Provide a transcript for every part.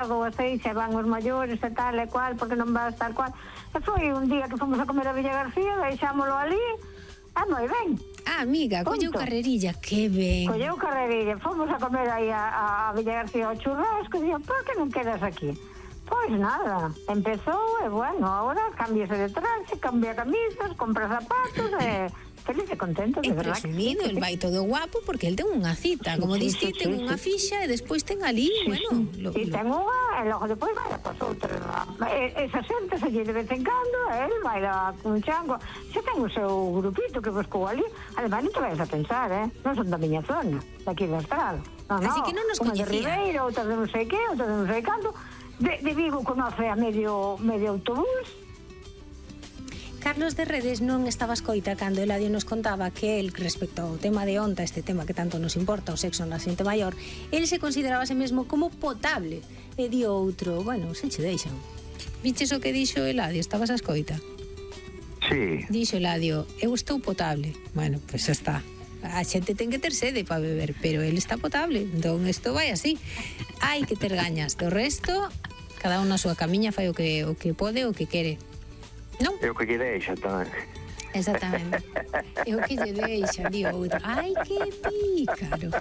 ou así, se van os maiores e tal e cual, porque non vas tal cual. E foi un día que fomos a comer a Villa García, deixámolo ali, moi ben. Amiga, colleu carrerilla, que ben. Colleu carrerilla, fomos a comer aí a Villa García ao churrasco, e dixo, por que non quedas aquí? Pois nada, empezou, e bueno, agora cámbiase de traxe, cambia camisas, compra zapatos, e feliz e contento, de verdad. Presumido, el vai todo guapo, porque el ten unha cita, como diste, ten unha fixa, e despois ten ali, bueno... E ten unha, e logo depois vai a pas outra. Esa xente se lle de vez en cando, el vai a un chango. Se ten o seu grupito que buscou ali, además non te vais a pensar, non son da miña zona, daqui da Estrada. Así que non nos coñecía. Unha de Ribeiro, outra de non sei que, outra de non sei canto, de Vigo conoce a medio autobús. Carlos de Redes non estaba escoita cando Eladio nos contaba que el, respecto ao tema de onta, este tema que tanto nos importa, o sexo na xente maior, el se consideraba a sí mesmo como potable. E di outro, bueno, se che deixan. Viches o que dixo Eladio, estabas a escoita? Sí. Dixo Eladio, eu estou potable. Bueno, pois xa está. A xente ten que ter sede para beber, pero el está potable. Entón, isto vai así. Hai que ter gañas. Do resto, cada un na súa camiña fai o que pode, o que quere. Non? É o que lle deixa tamén. Exactamente. É o que lle deixa, di outro. Ai, que pícaro.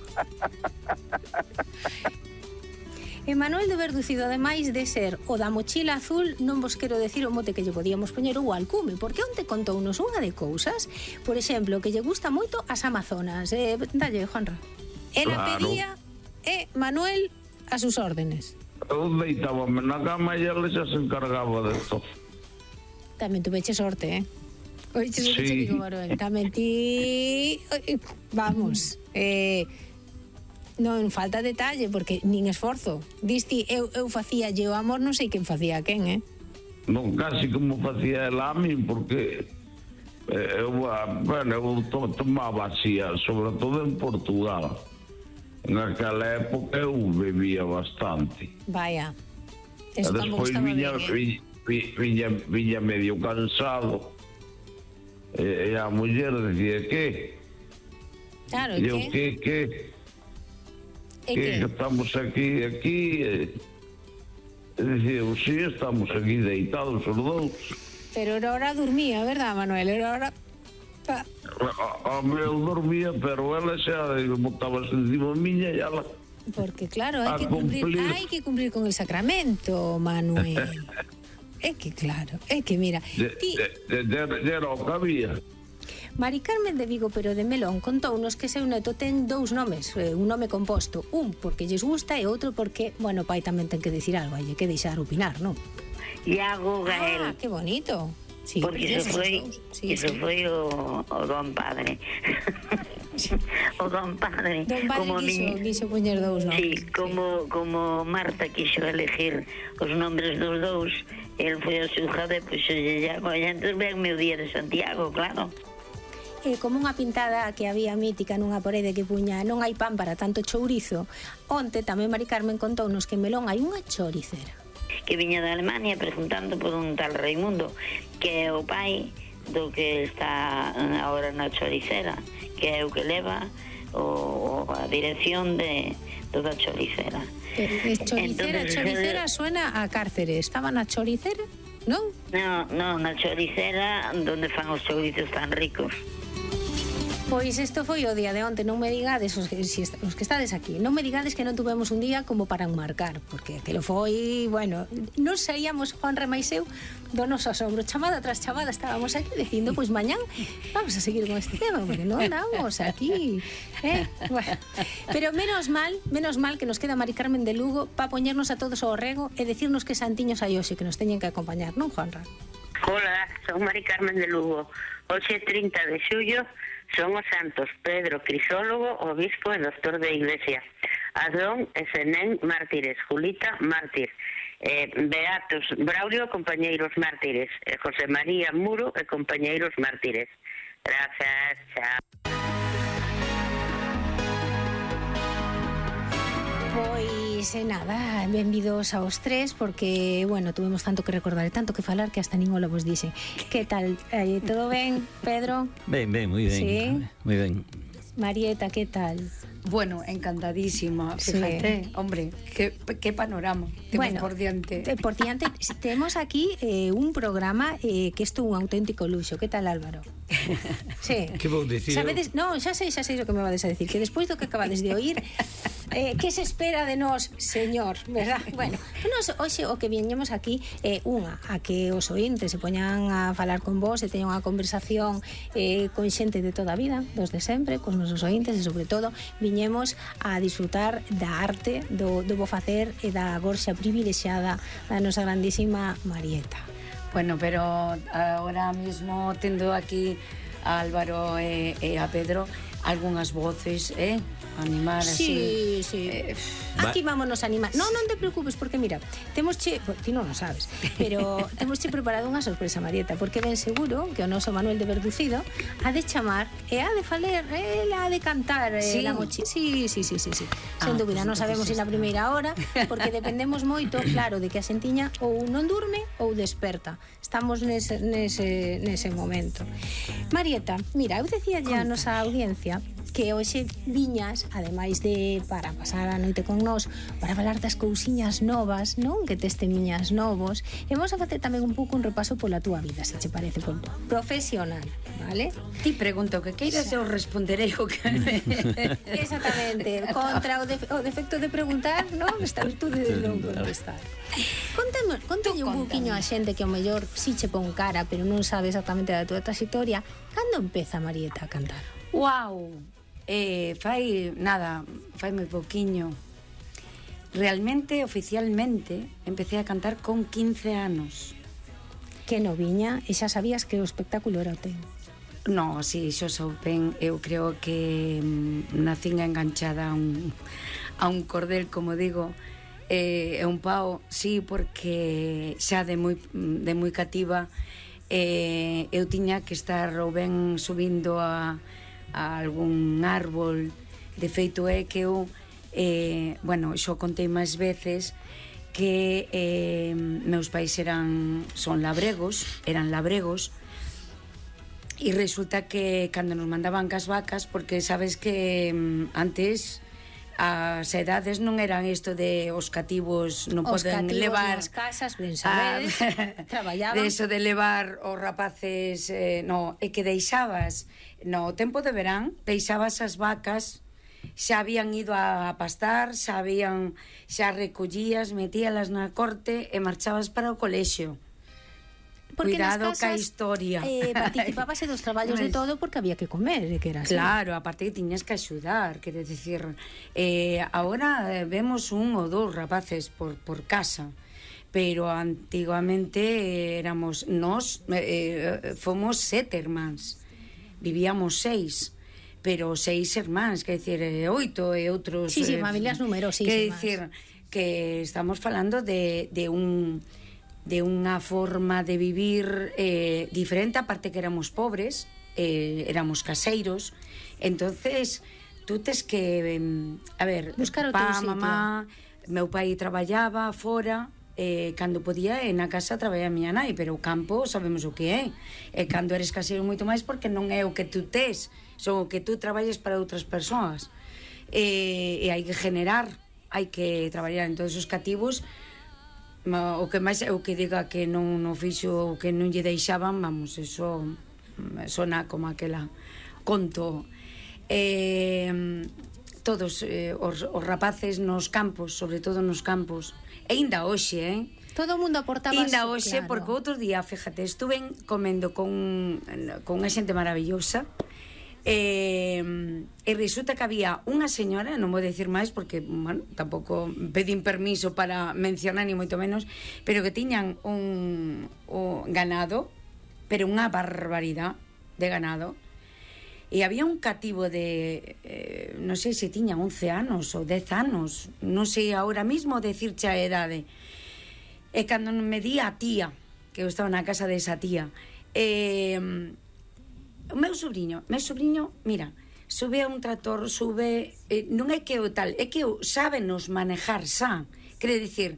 Emanuel de Verducido, ademais de ser o da mochila azul, non vos quero decir o mote que lle podíamos poñer o alcume, porque onte contounos unha de cousas, por exemplo, que lle gusta moito as Amazonas. Dalle, Juanra. Ela pedía, Manuel, a sus órdenes. Eu deitábame na cama e ela xa se encargaba de todo. Tamén tuveche sorte, Oiches o que che digo, Manuel. Tamén ti... Vamos, non falta detalle, porque nin esforzo. Disti, eu facíalle o amor, non sei quen facía a quen, Non, casi como facía ela a min, porque eu tomaba así, sobre todo en Portugal. En aquela época eu bebía bastante. Vaya, eso tampouco estaba ben, Viña medio cansado, e a muller decía que estamos aquí e decía, sí, estamos aquí deitados os dous, pero era hora dormía, verdad, Manuel? Era hora a meu dormía, pero ela xa botábase encima miña e ela... Porque claro, hai que cumplir con el sacramento, Manuel. É que claro, é que mira, era o que había. Mari Carmen de Vigo, pero de Melón, contounos que seu neto ten dous nomes, un nome composto, un porque lles gusta e outro porque, bueno, pai tamén ten que dicir algo, hai que deixar opinar, non? Iago Gael. Ah, que bonito. Sí, porque iso foi o don padre. O don padre. Don padre quiso poñer dous nomes. Sí, como Marta quiso elegir os nombres dos dous, el foi a xulgado e puxo Iago, e entón venme o día de Santiago, claro. Como unha pintada que había mítica nunha parede que puña non hai pan para tanto chourizo. Onte tamén Mari Carmen contounos que en Melón hai unha choricera que viña de Alemania preguntando por un tal Raimundo, que é o pai do que está agora na choricera, que é o que leva a dirección de toda a choricera. Choricera suena a cárcere. Estaba na choricera, non? Non, na choricera donde fan os chourizos tan ricos. Pois isto foi o día de onte, non me digades os que estades aquí, non me digades que non tuvemos un día como para enmarcar, porque aquilo foi, bueno, non saíamos Juan Remais eu do noso asombro, chamada tras chamada estábamos aquí dicindo, pois mañán vamos a seguir con este tema, porque non andamos aquí, bueno. Pero menos mal que nos queda Mari Carmen de Lugo para poñernos a todos ao rego e decirnos que santiños hai hoxe que nos teñen que acompañar, non, Juanra? Hola, son Mari Carmen de Lugo. Hoxe 30 de xullo son os santos Pedro Crisólogo, obispo e doctor de Iglesia, Adón e Senén mártires, Julita mártir, Beatos Braulio compañeiros mártires, José María Muro e compañeiros mártires. Grazas, chao. Pois nada, benvidos aos tres, porque, bueno, tuvemos tanto que recordar e tanto que falar que hasta nin ola vos dixen. Que tal? Todo ben, Pedro? Ben, moi ben. Sí? Moi ben. Marieta, ¿qué tal? Bueno, encantadísima, fíjate, sí. Hombre, qué panorama temos por diante. Por diante temos aquí un programa que é un auténtico luxo. Que tal, Álvaro? Sí. Que vou dicir? Sabedes, no, xa sei o que me vades a decir, que despois do que acabades de oír, que se espera de nós, señor, verdad? Bueno, nos hoxe o que viñemos aquí é a que os ointes se poñan a falar con vos e teñan unha conversación con xente de toda a vida, dos de sempre, cos nosos ointes e sobre todo viñemos a disfrutar da arte, do bo facer e da gorxa privilexiada da nosa grandísima Marieta. Bueno, pero ahora mismo tendo aquí a Álvaro e a Pedro algunhas voces, animar así. Sí. Aquí vámonos a animar. Non te preocupes, porque mira, ti non o sabes, pero temos preparado unha sorpresa, Marieta, porque ben seguro que o noso Manuel de Verducido ha de chamar e ha de faler, ha de cantar la mochi. Sí. Sen dúbida, non sabemos se na primeira hora, porque dependemos moito, claro, de que a xentiña ou non durme ou desperta. Estamos nese momento. Marieta, mira, eu decía ya a nosa audiencia que hoxe viñas, ademais de para pasar a noite con nós, para falar das cousiñas novas, non? Que testemunhas novos, e vamos a facer tamén un pouco un repaso pola túa vida, se che parece, profesional, vale? Ti pregunto que queiras, eu responderei o que... Exactamente, contra o defecto de preguntar, non? Esta virtude de non contestar. Contalle un pouquiño a xente que ao mellor si che pon cara, pero non sabe exactamente da túa trayectoria. Cando empeza Marieta a cantar? Uau! Fai moi pouquiño. Realmente, oficialmente, empecé a cantar con 15 anos. Que noviña, e xa sabías que o espectáculo era o teu? No, si, xo soupen, eu creo que nacín enganchada a un cordel, como digo, e un pau, sí, porque xa de moi cativa eu tiña que estar ou ben subindo a algún árbol. De feito é que eu xo contei máis veces que meus pais eran labregos e resulta que cando nos mandaban cas vacas, porque sabes que antes as edades non eran isto de os cativos non poden levar as casas, ben sabedes, traballaban. De eso de levar os rapaces, no, e que deixabas no tempo de verán, deixabas as vacas, xa habían ido a pastar, xa recollías, metíalas na corte e marchabas para o colexio. Porque cuidado casas, ca historia. Participábase dos traballos de todo porque había que comer, que era así. Claro, aparte que tiñas que axudar, quere decir, agora vemos un ou dous rapaces por casa, pero antigamente éramos nós, fomos 7 irmáns, vivíamos 6, pero 6 irmáns, quer decir, 8 e outros... Sí, familias numerosísimas. Quer decir, que estamos falando de unha forma de vivir diferente, aparte que éramos pobres, éramos caseiros, entonces tú tes que buscar o teu sitio. Mamá, meu pai traballaba fora, cando podía na casa traballaba a miña nai, pero o campo sabemos o que é, e cando eres caseiro moito máis, porque non é o que tú tes, son o que tú traballes para outras persoas, e hai que generar, hai que traballar en todos os cativos. O que máis é o que diga que non fixo o que non lle deixaban, vamos, eso sona como aquela conto. Todos os rapaces nos campos, sobre todo nos campos, e ainda hoxe, todo o mundo aportaba ainda hoxe, claro. Porque outro día, fíjate, estuve comendo con unha xente maravillosa, e resulta que había unha señora, non vou decir máis porque, bueno, tampouco pedín permiso para mencionar ni moito menos, pero que tiñan un ganado, pero unha barbaridade de ganado, e había un cativo de non sei se tiña 11 anos ou 10 anos, non sei ahora mismo decirche a edade, e cando me di a tía, que eu estaba na casa desa tía, o meu sobrinho, mira, sube a un tractor, non é que o tal, é que sábenos manejar xa, Quere dicir,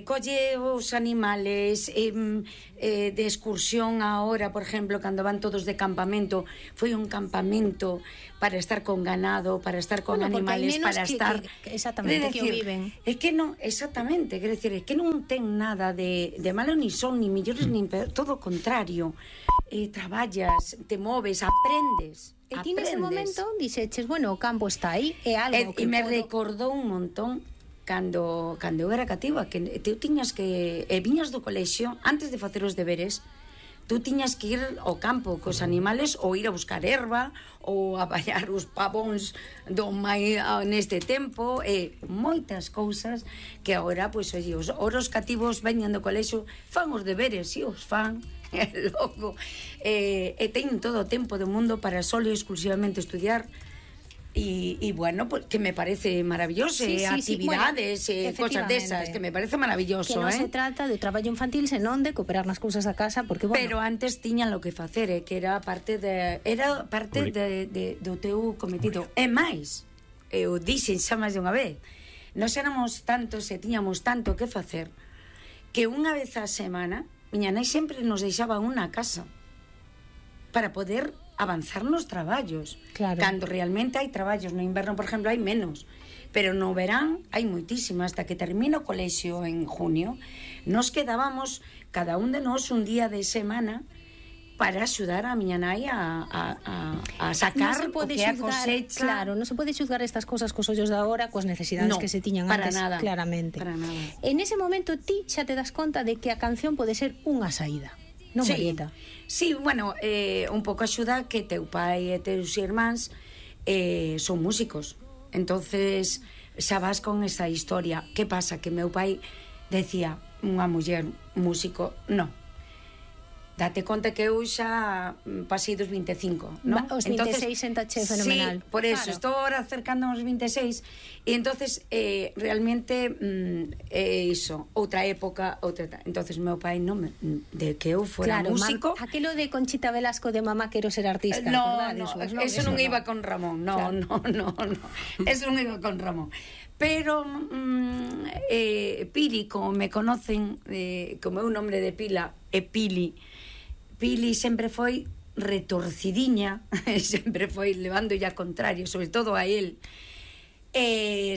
colle os animales de excursión ahora, por exemplo, cando van todos de campamento, foi un campamento para estar con ganado, para estar con animales, para estar... Exactamente, que o viven. É que non, exactamente, quere dicir, é que non ten nada de malo, ni son, ni millores, ni peor, todo o contrario. Traballas, te moves, aprendes. E ti nese momento dixeches, bueno, o campo está aí, é algo que me recordou un montón cando eu era cativa, que tú tiñas que viñas do colexio antes de facer os deberes, tú tiñas que ir ao campo cos animales ou ir a buscar erva ou a ballar os pavóns do mai neste tempo, moitas cousas que agora, pois, oye, os cativos veñan do colexio, fan os deberes, si os fan, loco, e teñen todo o tempo do mundo para solo e exclusivamente estudiar. Y bueno, pues, que me parece maravilloso, actividades, bueno, cosas desas, que me parece maravilloso. Que non se trata de traballo infantil, senón de cooperar nas cousas da casa, porque, bueno... Pero antes tiñan lo que facer, que era parte do teu cometido. E máis, eu dixen xa máis de unha vez, nos éramos tantos e tiñamos tanto que facer, que unha vez a semana, miña nai sempre nos deixaba unha casa para poder avanzar nos traballos. Claro. Cando realmente hai traballos, no inverno, por exemplo, hai menos, pero no verán hai moitísimo. Hasta que termina o colexio en junio, nos quedábamos cada un de nós un día de semana para axudar a miña nai a sacar o que é a cosecha. Claro, non se pode xuzgar estas cousas cos ollos de agora, coas necesidades que se tiñan antes, nada, claramente. Para nada. En ese momento ti xa te das conta de que a canción pode ser unha saída. Non, sí, Marieta? Sí, bueno, un pouco axuda que teu pai e teus irmáns son músicos. Entonces xa vas con esa historia. Que pasa? Que meu pai decía, unha muller músico, non. Date conta que eu xa pasei dos 25, non? Os 26 sentache fenomenal. Sí, por eso, claro. Estou ahora acercando aos 26 e entonces realmente iso, outra época, entonces meu pai non de que eu fora músico. Aquilo de Conchita Velasco de mamá quero ser artista, no, eso non iba con Ramón, no. Eso non iba con Ramón. Pero Pili, como me conocen, como é un nombre de pila, é Pili sempre foi retorcidiña, sempre foi levando ya contrario, sobre todo a él.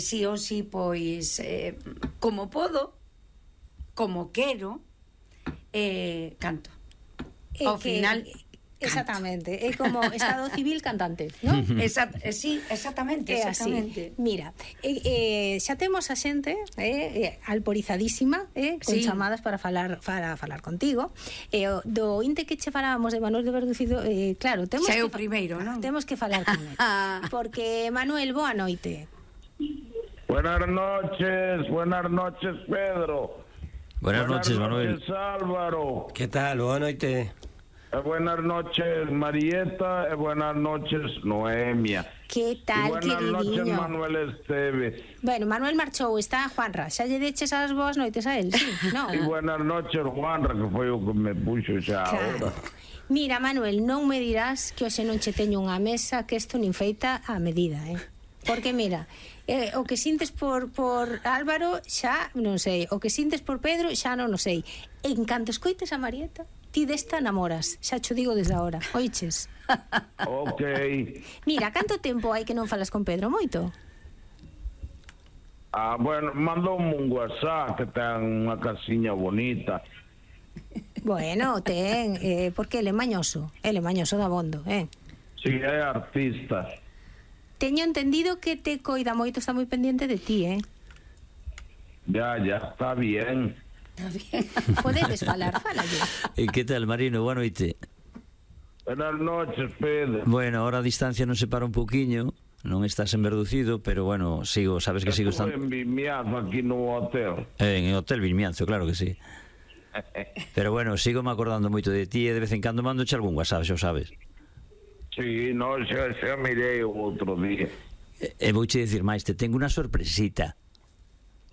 Si ou si, pois, como podo, como quero, canto. Ao final... Exactamente, é como estado civil cantante, non? Sí, exactamente. Mira, xa temos a xente alporizadísima, con chamadas para falar contigo. Do inte que che falábamos de Manuel de Verducido, claro, temos xa é o primeiro, non? Temos que falar con él. Porque, Manuel, boa noite. Buenas noches, Pedro. Buenas noches, Manuel. Buenas noches, Álvaro. Que tal? Boa noite. Buenas noches, Marieta, buenas noches, Noemia. Que tal, queridinho? Buenas noches, Manuel Esteves. Bueno, Manuel marchou, está Juanra. Xa lle deches as boas noites a él, sí, no? E buenas noches, Juanra, que foi o que me puxo xa claro. Ahora. Mira, Manuel, non me dirás que hoxe non che teño unha mesa que isto nin feita a medida, Porque, mira, o que sintes por Álvaro xa non sei, o que sintes por Pedro xa non o sei. En canto escoites a Marieta, ti desta namoras, xa cho digo desde agora, oiches? Ok. Mira, canto tempo hai que non falas con Pedro? Moito? Bueno, mandoume un WhatsApp que ten unha casiña bonita. Bueno, ten, porque ele é mañoso dabondo, Si, é artista. Teño entendido que te coida moito, está moi pendiente de ti, Ya, está bien. Está bien. Podedes falar, falalle. E que tal, Marino? Boa noite. Buenas noches, Pedro. Bueno, ahora a distancia nos separa un poquinho, non estás en Verducido, pero bueno, sabes que sigo estando... en Vimianzo, aquí no hotel. En el hotel Vimianzo, claro que sí. Pero bueno, sigo me acordando moito de ti e de vez en cando mandoche algún WhatsApp, xa o sabes. Sí, no, xa mirei o outro día. E vouche dicir máis, te tengo unha sorpresita.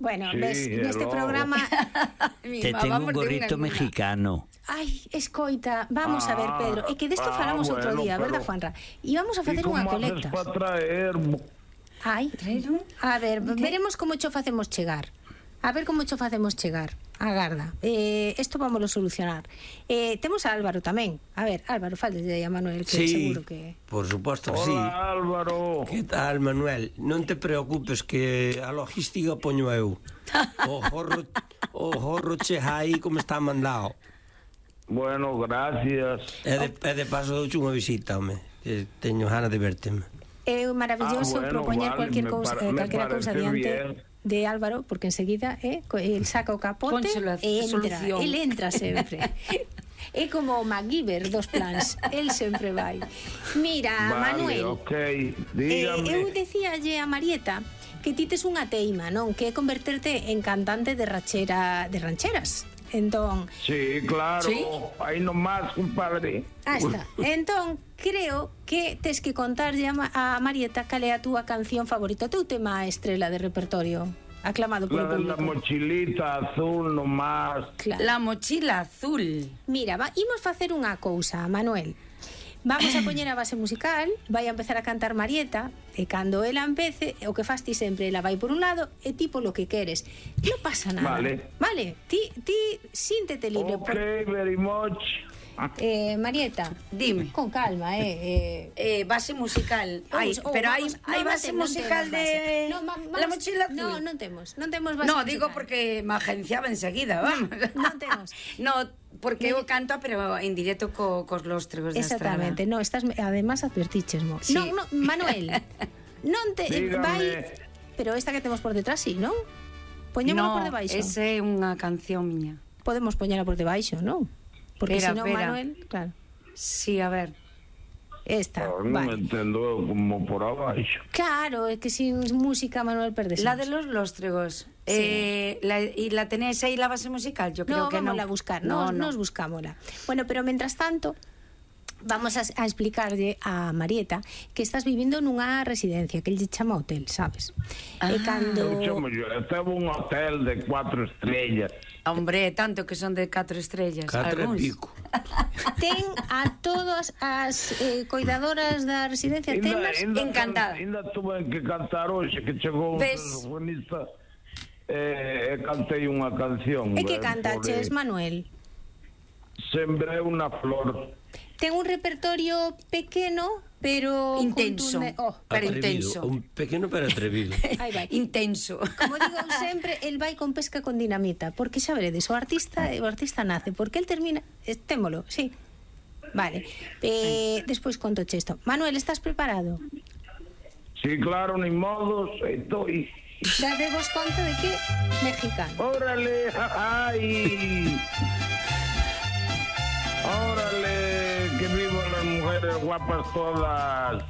Bueno, sí, ves, neste programa te tengo un gorrito mexicano. Ai, escoita, vamos a ver, Pedro, é que desto falamos outro día, verdad, Juanra? E vamos a facer unha colecta. Para traer? Ai, a ver, veremos como cho facemos chegar. A ver como cho facemos chegar. Agarda. Isto vámoslo solucionar. Temos a Álvaro tamén. A ver, Álvaro, faleslle a Manuel, que seguro que... por suposto que sí. Hola, Álvaro. Que tal, Manuel? Non te preocupes que a logística poño eu. O jorro che aí como está mandado. Bueno, gracias. E de paso douche unha visita, home. Teño gana de verte. É maravilloso propoñer cualquier cousa diante de Álvaro, porque enseguida el saca o capote e entra sempre. É como o MacGyver dos plans, el sempre vai. Mira, vale, Manuel, dígame. Eu decíalle a Marieta que ti tes unha teima, non? Que é converterte en cantante de rancheras. Entón... Sí, claro, ¿sí? Aí nomás, compadre. Está. Entón, creo que tes que contarlle a Marieta cal é a túa canción favorita, o teu tema estrela de repertorio, aclamado polo público. La mochilita azul nomás. Claro. La mochila azul. Mira, imos facer unha cousa, Manuel. Vamos a poñer a base musical, vai a empezar a cantar Marieta, e cando ela empece, o que fas ti sempre, ela vai por un lado e ti polo que queres. Non pasa nada. Vale, ti síntete libre. Ok, very much. Marieta, dime. Con calma, base musical. Pero hai base musical de La mochila azul. Non temos base musical. No, digo porque me agenciaba enseguida, vamos. Non temos. No, porque eu canto, pero en directo cos lóstregos da Estrada. Exactamente, no, estás, además advertichesmo. Sí. No, Manuel, non te vai, pero esta que temos por detrás, sí, non? Poñémola por debaixo. No, esa é unha canción miña. Podemos poñela por debaixo, non? Porque se non, Manuel, claro. Sí, a ver. Esta, non entendo como por abaixo. Claro, é que sin música, Manuel, perdes. La de los lóstregos. Sí. ¿Y la tenéis ahí la base musical? Yo creo que no. Vamos a buscar, nos buscámosla. Bueno, pero mientras tanto, vamos a explicarlle a Marieta que estás vivindo nunha residencia que lle chama hotel, sabes? E cando... Eu estaba un hotel de 4 estrellas. Hombre, tanto que son de 4 estrellas. 4 e pico. Ten a todas as cuidadoras da residencia, tenas encantadas. Ainda tuve que cantar hoxe, que chegou un saxofonista e cantei unha canción. E que cantaches, Manuel? Sembré unha flor. Ten un repertorio pequeno, pero intenso. Pero intenso. Un pequeno pero atrevido. Intenso. Como digo sempre, el vai con pesca con dinamita, porque xa veredes, o artista nace, porque el termina, témolo, sí. Vale. Despois conto isto. Manuel, estás preparado? Sí, claro, ni modos, estoy. Dadevos conta de que mexicano. Órale, ay. Órale, que vivan las mujeres guapas todas.